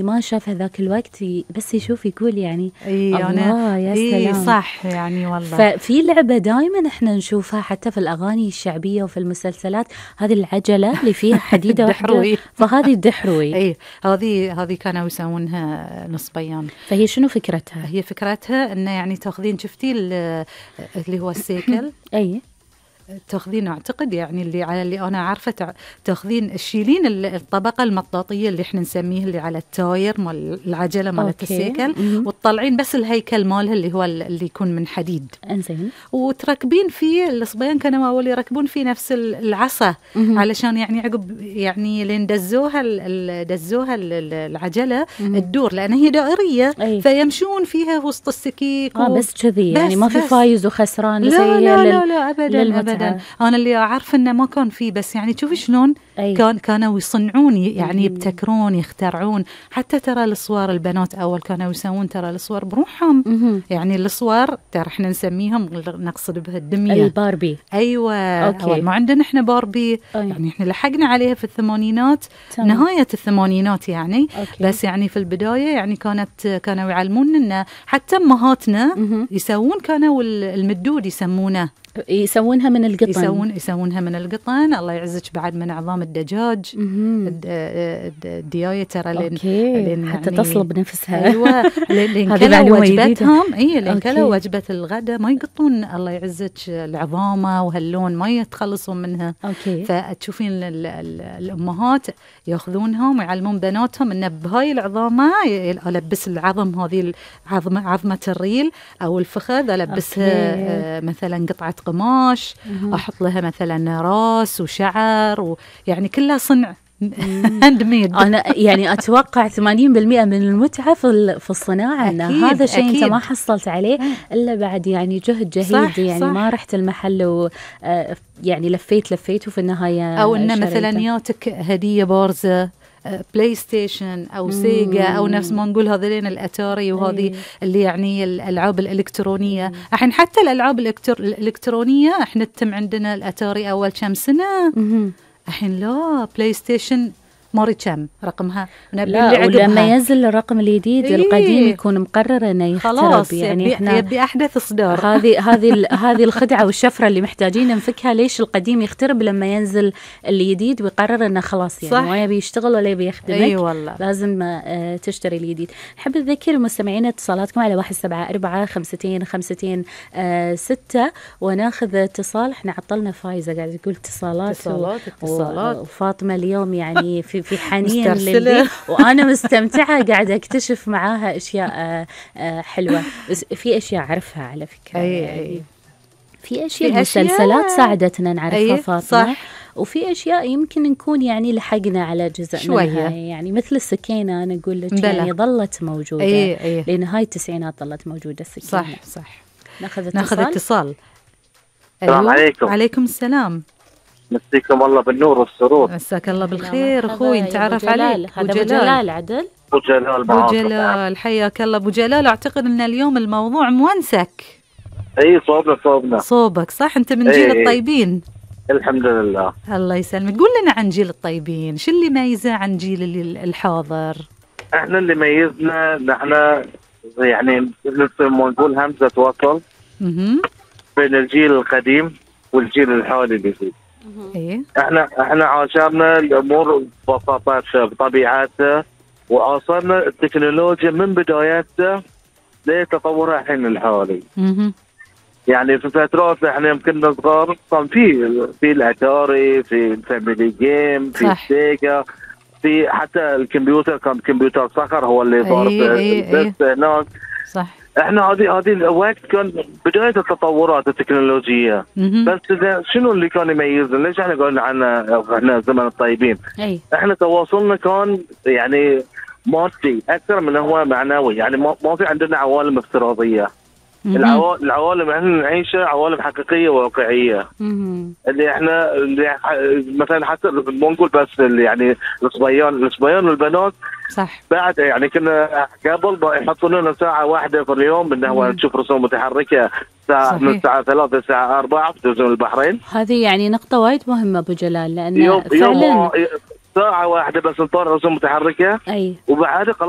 ما شاف هذاك الوقت بس يشوف يقول يعني اي الله يا سلام. صح يعني والله. ففي لعبة دائما احنا نشوفها حتى في الأغاني الشعبية وفي المسلسلات، هذه العجلة اللي فيها حديدة واحدة، فهذه الدحروي. اي هذه كانوا يسوونها نصبيان. فهي شنو فكرتها؟ هي فكرتها انه يعني تاخذين شفتي اللي هو السيكل اي تاخذين اعتقد يعني اللي انا عارفه تاخذين تشيلين الطبقه المطاطيه اللي احنا نسميه اللي على التاير مال العجله مالت السيكل، وتطلعين بس الهيكل مالها اللي هو اللي يكون من حديد. انزين. وتركبين فيه الصبيان كانوا اول يركبون فيه نفس العصا علشان يعني عقب يعني لين دزوها العجله تدور لان هي دائريه. فيمشون فيها وسط السكيك بس كذي يعني ما في فايز وخسران. لا ابدا. أنا اللي أعرف إنه ما كان فيه، بس يعني شوفي شلون كانوا يصنعون يعني يبتكرون يخترعون. حتى ترى الصور البنات أول كانوا يسوون ترى الصور بروحهم. يعني الصور ترى إحنا نسميهم نقصد بها الدمية الباربي. أيوة. أول ما عندنا إحنا باربي يعني إحنا لحقنا عليها في الثمانينات. نهاية الثمانينات يعني. بس يعني في البداية يعني كانوا يعلمون إن حتى أمهاتنا يسوون كانوا المدود يسوونها من القطن. يسوونها من القطن. الله يعزك بعد من عظام الدجاج. الدياية ترى لين حتى يعني تصلب نفسها. ايوه لين كلوا وجبتهم. لين كلوا وجبة الغداء ما يقطون الله يعزك العظامة وهاللون ما يتخلصون منها. فتشوفين الامهات ياخذونهم ويعلمون بناتهم ان بهاي العظامة البس العظم هذه عظمة الريل او الفخذ البسها مثلا قطعة قماش، احط لها مثلا راس وشعر ويعني كلها صنع هاند ميد. انا يعني اتوقع 80% من المتعه في الصناعه ان هذا شيء انت ما حصلت عليه الا بعد يعني جهد جهيد. صح يعني صح. ما رحت المحل يعني لفيت وفي النهايه او ان مثلا ياتك هديه بارزه بلاي ستيشن او سيجا او نفس ما نقول هذين الاتاري وهذه اللي يعني الالعاب الالكترونيه. الحين حتى الالعاب الالكترونيه احنا تم عندنا الاتاري اول كم سنه. الحين لا بلاي ستيشن ماري كم رقمها. لا ولما ينزل الرقم الجديد القديم يكون مقرر انه يخترب. يعني احنا يبي احدث اصدار. هذه الخدعه والشفره اللي محتاجين نفكها. ليش القديم يخترب لما ينزل الجديد ويقرر انه خلاص يعني ما يبي يشتغل ولا يبي يخدمك. والله. لازم تشتري الجديد. نحب نذكر المستمعين اتصالاتكم على 174-52-6 وناخذ اتصال. احنا عطلنا فايزه قاعده تقول اتصالات. وفاطمه اليوم يعني في حنين للبيت وأنا مستمتعة قاعدة أكتشف معاها أشياء حلوة. في أشياء أعرفها على فكرة. يعني في أشياء مسلسلات ساعدتنا نعرفها فاطمة. صح. وفي أشياء يمكن نكون يعني لحقنا على جزء منها. يعني مثل السكينة أنا أقول لك يعني ظلت موجودة. لنهاية التسعينات ظلت موجودة السكينة. صح. ناخذ اتصال. السلام عليكم. عليكم السلام. مسيكم الله بالنور والسرور. مساك الله بالخير اخوي. نتعرف عليك. هذا ابو جلال عدل. ابو جلال حياك الله ابو جلال. اعتقد ان اليوم الموضوع مونسك. اي صوبنا صوبك صح. انت من جيل الطيبين. الحمد لله. الله يسلمك. قول لنا عن جيل الطيبين شو اللي ميزه عن جيل الحاضر؟ احنا اللي ميزنا نحن يعني ما نقول همزه وصل بين الجيل القديم والجيل الحالي اللي فيه. احنا عاشرنا الامور ببساطتها بطبيعتها واصلنا التكنولوجيا من بدايتها لتطورها الحين الحالي. يعني في فترات احنا يمكن صغار كان في الاتاري، في الفاميلي جيم، في السيجا، في حتى الكمبيوتر كان كمبيوتر صخر هو اللي صار بس هناك. صح. احنا هذه الوقت كان بدايه التطورات التكنولوجيه. بس شنو اللي كان يميزنا؟ ليش احنا قلنا عنه احنا زمن الطيبين؟ احنا تواصلنا كان يعني مادي اكثر من هو معنوي. يعني ما في عندنا عوالم افتراضيه. العوالم احنا نعيشها عوالم حقيقيه واقعيه. اللي مثلا حتى مو نقول بس يعني الصبيان والبنات. صح. بعد يعني كنا قبل يحطون لنا ساعه واحده في اليوم انه هو نشوف رسوم متحركه من الساعه 3 للساعه 4 في تلفزيون البحرين. هذه يعني نقطه وايد مهمه ابو جلال لان فعلا ساعة واحدة بس نطور رسوم متحركة. اي. وبعد خلاص